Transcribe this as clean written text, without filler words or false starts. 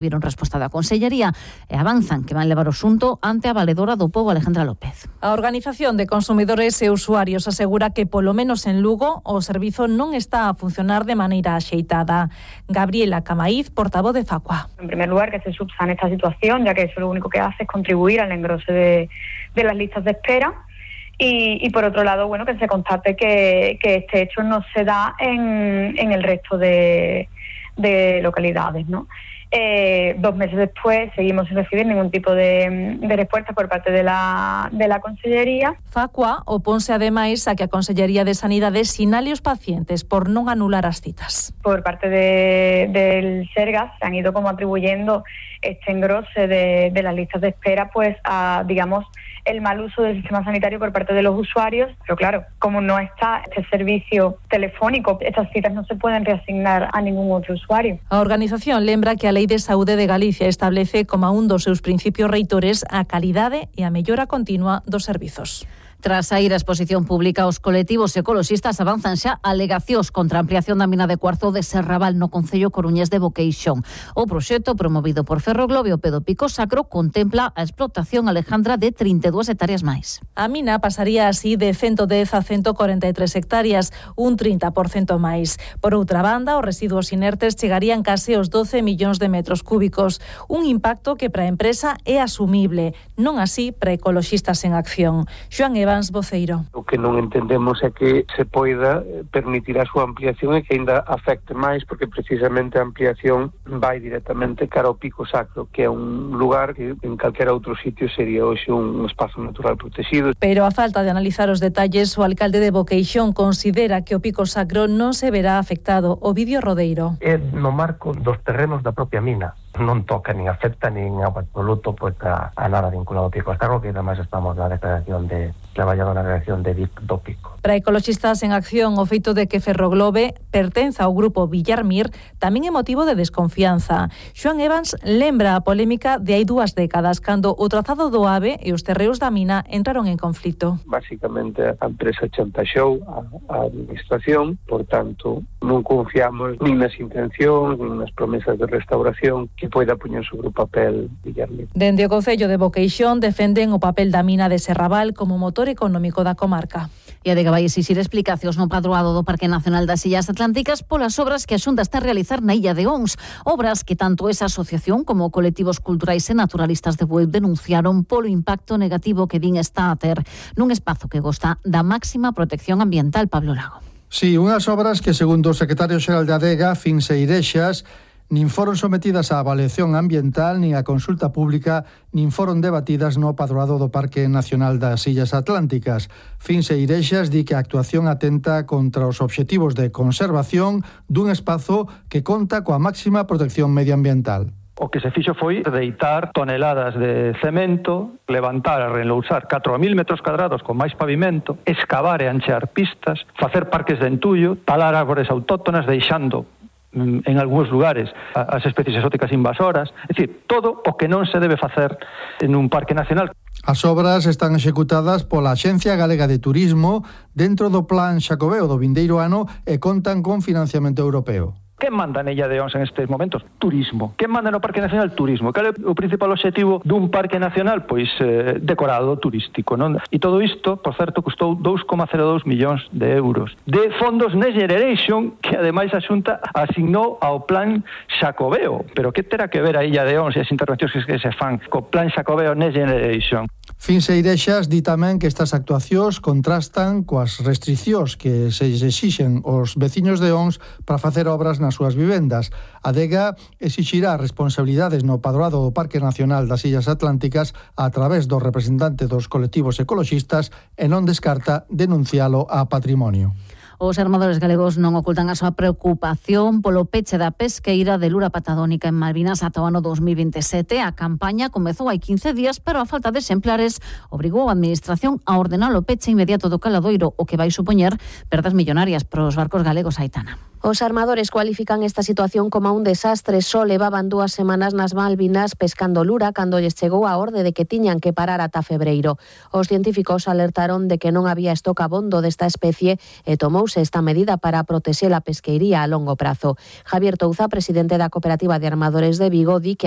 Viron resposta da Consellería e avanzan que van levar o asunto ante a valedora do pobo Alejandra López. A Organización de Consumidores e Usuarios asegura que polo menos en Lugo o servizo non está a funcionar de maneira axeitada. Gabriela Camaíz, portavoz de Facua. En primer lugar, que se subsane esta situación, ya que eso lo único que hace es contribuir al engrose de las listas de espera. Y por otro lado, bueno, que se constate que este hecho no se da en el resto de localidades, ¿no? 2 meses después seguimos sin recibir ningún tipo de respuesta por parte de la Consellería. Facua oponse ademais a que a Consellería de Sanidade sinale os pacientes por non anular as citas. Por parte del Sergas se han ido como atribuyendo este engrose de las listas de espera pues a, digamos, el mal uso del sistema sanitario por parte de los usuarios, pero claro, como no está este servicio telefónico, estas citas no se pueden reasignar a ningún outro usuario. A organización lembra que a Lei de Saúde de Galicia establece como un dos seus principios reitores a calidade e a mellora continua dos servizos. Tras saír a exposición pública, os colectivos ecoloxistas avanzan xa alegacións contra a ampliación da mina de cuarzo de Serrabal no concello coruñés de Boqueixón. O proxecto promovido por Ferroglobio Pedo Pico Sacro contempla a explotación, Alejandra, de 32 hectáreas máis. A mina pasaría así de 110 a 143 hectáreas, un 30% máis. Por outra banda, os residuos inertes chegarían case aos 12 millóns de metros cúbicos, un impacto que para a empresa é asumible, non así para ecoloxistas en acción. Xoan Evans, voceiro. O que non entendemos é que se poida permitir a súa ampliación e que ainda afecte máis, porque precisamente a ampliación vai directamente cara ao Pico Sacro, que é un lugar que en calquera outro sitio sería hoxe un espazo natural protegido. Pero a falta de analizar os detalles, o alcalde de Boqueixón considera que o Pico Sacro non se verá afectado. Ovidio Rodeiro. É no marco dos terrenos da propia mina. Non toca nin afecta nin absoluto pues, a nada vinculado ao Pico Sacro, que además estamos na declaración de traballado na redacción de DIC do Pico. Para ecoloxistas en acción, o feito de que Ferroglobe pertenza ao grupo Villarmir tamén é motivo de desconfianza. Xoan Evans lembra a polémica de hai 2 décadas, cando o trazado do AVE e os terreos da mina entraron en conflito. Básicamente a empresa chantaxou a administración, por tanto non confiamos nin nas intencións, nin nas promesas de restauración que poida poñer sobre o papel Villarmir. Dende o Concello de Boqueixón defenden o papel da mina de Serrabal como motor económico da comarca. E adega vai exixir explicacións no padroado do Parque Nacional das Illas Atlánticas polas obras que a Xunta está a realizar na Illa de Ons, obras que tanto esa asociación como colectivos culturais e naturalistas de Bueu denunciaron polo impacto negativo que din está a ter nun espazo que gosta da máxima protección ambiental. Pablo Lago. Sí, unhas obras que, segundo o secretario xeral de Adega, Fins Eirexas, nin foron sometidas á avaliación ambiental, nin á consulta pública, nin foron debatidas no padroado do Parque Nacional das Illas Atlánticas. Fins Eirexas di que a actuación atenta contra os obxectivos de conservación dun espazo que conta coa máxima protección medioambiental. O que se fixo foi deitar toneladas de cemento, levantar e relousar 4.000 metros cuadrados con máis pavimento, excavar e anchear pistas, facer parques de entullo, talar árbores autóctonas, deixando en algúns lugares as especies exóticas invasoras, é dicir, todo o que non se debe facer en un parque nacional. As obras están executadas pola Axencia Galega de Turismo dentro do Plan Xacobeo do vindeiro ano e contan con financiamento europeo. Que manda na Illa de Ons en estes momentos? Turismo. Que manda no Parque Nacional? Turismo. Cal é o principal obxectivo dun Parque Nacional? Pois decorado turístico, non? E todo isto, por certo, custou 2,02 millóns de euros de fondos Next Generation, que ademais a Xunta asignou ao Plan Xacobeo. Pero que terá que ver a Illa de Ons e as intervencións que se fan co Plan Xacobeo Next Generation? Fins Eirexas di tamén que estas actuacións contrastan coas restriccións que se exixen aos veciños de Ons para facer obras nas súas vivendas. A Adega exixirá responsabilidades no padroado do Parque Nacional das Illas Atlánticas a través dos representantes dos colectivos ecoloxistas e non descarta denuncialo a Patrimonio. Os armadores galegos non ocultan a súa preocupación polo peche da pesqueira de lura patagónica en Malvinas ata o ano 2027. A campaña comezou hai 15 días, pero a falta de exemplares obrigou a Administración a ordenar o peche inmediato do caladoiro, o que vai supoñer perdas millonarias para os barcos galegos. Aitana. Os armadores cualifican esta situación como un desastre. Só levaban 2 semanas nas Malvinas pescando lura cando lles chegou a orde de que tiñan que parar ata febreiro. Os científicos alertaron de que non había estoc abondo desta especie e tomouse tomouse esta medida para protexer a pesqueiría a longo prazo. Javier Touza, presidente da Cooperativa de Armadores de Vigo, di que a